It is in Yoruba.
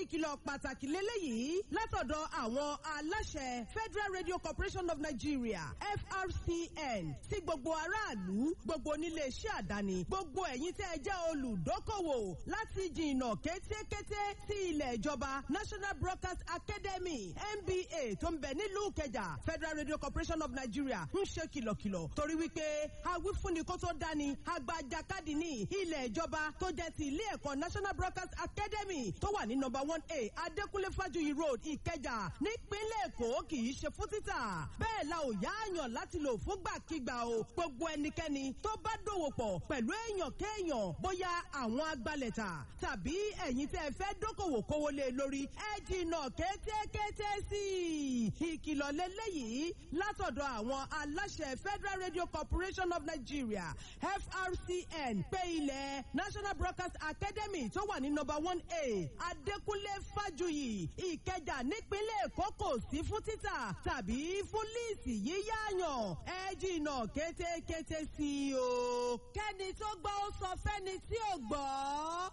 Ìkìlọ̀ pàtàkì lélẹ́yìí látọ̀dọ̀ àwọn aláṣẹ Federal Radio Corporation of Nigeria, FRCN, sí gbogbo aráàlú, gbogbo oníléeṣẹ́ àdáni, gbogbo ẹ̀yin tẹ́ ẹ jẹ́ olùdókòwò láti jìnnà kétékété sí ilẹ̀ ìjọba National Broadcast Academy, NBA, tó ń bẹ nílùú Ìkẹjà. Federal Radio Corporation of Nigeria ń ṣe kìlọ̀kìlọ̀ torí wípé awífúnni kó tó dání agbajakadì ní ilẹ̀ ìjọba tó jẹ́ ti ilé ẹ̀kọ́ National Broadcast Academy tó wà ní number 1A Adékúnlé Fájuyì Road, Ìkẹjà, nípínlẹ̀ Èkó kì í ṣe fún títà. Bẹ́ẹ̀ la ò yá àyàn láti lò fúngbàkigbà o. Gbogbo ẹnikẹ́ni tó bá dòwò pọ̀ pẹ̀lú èèyàn kéèyàn, bóyá àwọn agbalẹ̀ta tàbí ẹ̀yin tẹ́ ẹ fẹ́ dókòwò kówó lé lórí, ẹ jìnnà kétékété sí i. Ìkìlọ̀ lélẹ́yìí látọ̀dọ̀ àwọn aláṣẹ Federal Radio Corporation of Nigeria, FRCN, pé ilẹ̀ National Broadcast Academy tó wà ní number 1A Adékúnlé Fájuyì, Ìkẹjà, nípínlẹ̀ Èkó kò sí fún títà tàbí fún líìsì yíyáyàn. Ẹ jìnnà kétékété sí i o. Kẹ́ni tó gbọ́ ó sọ fẹ́ni tí ò gbọ́.